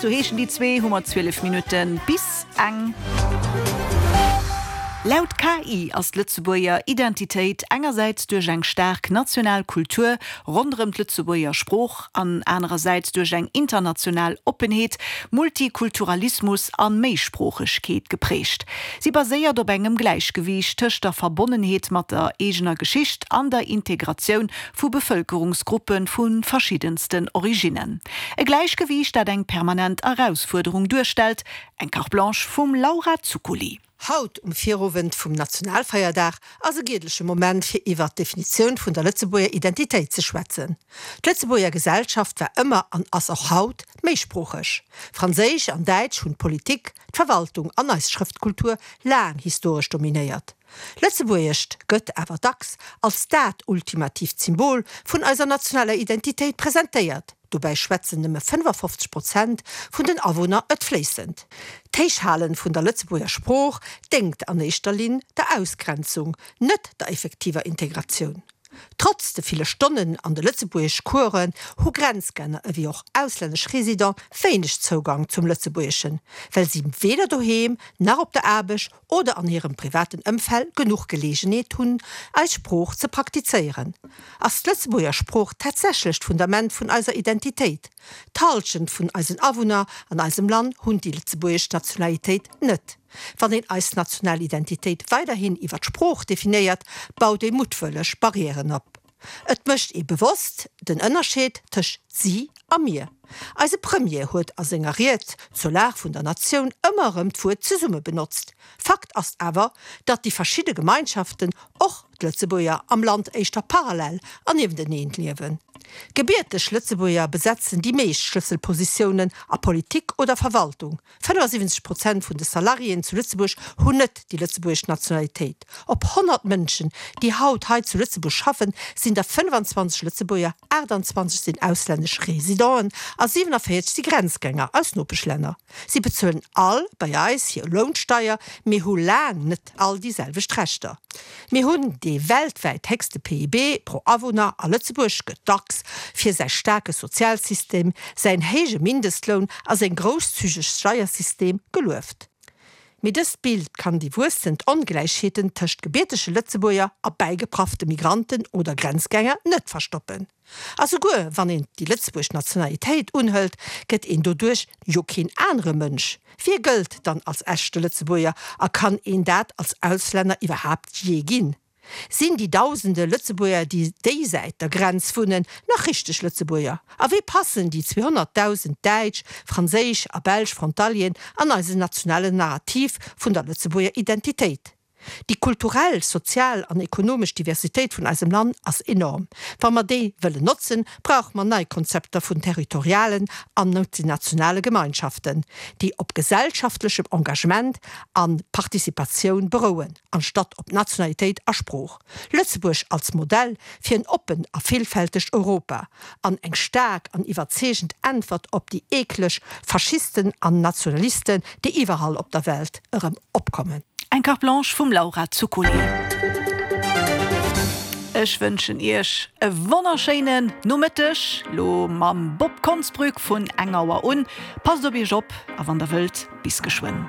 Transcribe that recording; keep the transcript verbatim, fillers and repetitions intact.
sou heeschen déi zwee, hu mer zwielef Minutte bis eng. Laut K I ass d'Lëtzebuerger Identitéit engersäits duerch eng staark national Kultur ronderëm d'Lëtzebuerger Sprooch an anerersäits duerch eng international Oppenheet, Multikulturalismus a Méisproochegkeet geprägt. Si baséiert op engem Gläichgewiicht tëscht der Verbonnenheet mat der eegener Geschicht an der Integratioun vu Bevëlkerungsgruppe vu verschiddensten Originnen. E Gläichgewiicht, dat eng permanent Erausfuerderung duerstellt. Eng Carte Blanche vum Laura Zuccoli. Haut um Virowend vum Nationalfeierdag ass e giedleche Moment fir iwwer d'Definitioun vun der Lëtzebuerger Identitéit ze schwätzen. D'Lëtzebuerger Gesellschaft war ëmmer an ass och haut méisproocheg. Franséisch an Däitsch hunn d'Politik, d'Verwaltung an eis Schrëftkultur laang historesch dominéiert. Lëtzebuergescht gëtt awer dacks als dat ultimatiivt Symbol vun eiser nationaler Identitéit presentéiert. Dobäi schwätzen nëmme fënnefafofzeg Prozent vun den Awunner et fléissend. D'Héichhalen vun der Lëtzebuerger Sprooch déngt an éischter Linn der Ausgrenzung, net der effektiver Integratioun. Trotz de ville Stonnen an de Lëtzebuergeschcoursen hu Grenzgänger ewéi och auslännesch Residenten wéineg Zougang zum Lëtzebuergeschen, well si weder doheem, nach op der Aarbecht oder an hirem privaten Ëmfeld genuch Geleegenheet hunn, eis Sprooch ze praktizéieren. Ass d'Lëtzebuerger Sprooch tatsächlech d'Fundament vun eiser Identitéit? D'Hallschent vun eisen Awunner an eisem Land hunn déi lëtzebuergesch Nationalitéit net. Wann een eis national Identitéit weiderhin iwwer d'Sprooch definéiert, baut ee muttwëlleg Barrièren op. Et mécht ee bewosst den Ënnerscheed tëscht si a mir. Eise Premier huet a senger Ried zur Lag vun der Natioun ëmmer erëm d'Wuert zesumme benotzt. Fakt ass awer, datt déi verschidde Gemeinschaften, och d'Lëtzebuerger, am Land éischter parallel an niewenteneen liewen. Gebierteg Lëtzebuerger besetzen déi meescht Schlësselpositiounen a Politik oder Verwaltung. fënnefasiwwenzeg Prozent vun de Salariéen zu Lëtzebuerg hunn net déi lëtzebuergesch Nationalitéit. Op honnert Mënschen, déi haut hei zu Lëtzebuerg schaffen, sinn der fënnefanzwanzeg Lëtzebuerger, aachtanzwanzeg sinn auslännesch Residenten a siwenavéierzeg si Grenzgänger aus Nopeschlänner. Si bezuelen all bei eis hir Lounsteier, mee hu laang net all déi selwecht Rechter. Mir hunn dee weltwäit héchste P I B pro Awunner a Lëtzebuerg gëtt dacks fir säi staarke Sozialsystem, säin héije Mindestloun a seng grousszügeg Steiersystem gelueft. Mee dëst Bild kann déi wuessend Ongläichheeten tëscht gebiertege Lëtzebuerger a bäigepraffte Migranten oder Grenzgänger net verstoppen. A souguer wann een déi lëtzebuergesch Nationalitéit unhëlt, gëtt een doduerch jo keen anere Mënsch. Wie gëllt dann als echte Lëtzebuerger a kann een dat als Auslänner iwwerhaapt jee ginn? Sinn déi dausende Lëtzebuerger, déi déisäit der Grenz wunnen, nach richteg Lëtzebuerger? A wéi passen déi zweehonnertdausend däitsch, franséisch a belsch Frontalieren an eisen nationalen Narrativ vun der Lëtzebuerger Identitéit? Déi kulturell, sozial an ekonomesch Diversitéit vun eisem Land ass enorm. Wa mer déi wëllen notzen, brauche mer nei Konzepter vun territorialen an multinationale Gemeinschaften, déi op gesellschaftlechem Engagement a Participatioun berouen, anstatt op Nationalitéit a Sprooch. Lëtzebuerg als Modell fir en oppent a villfältegt Europa an eng staark an iwwerzeegend Äntwert op déi eekleg Faschisten an Nationalisten, déi iwwerall op der Welt erëm opkommen. Eng Carte Blanche vum Laura Zuccoli. Ech wënschen Iech e wonnerschéinen Nomëtteg, lo mam Bob Konsbrück vun eng Auer un. Passt op Iech op a wann der wëllt, bis geschwënn.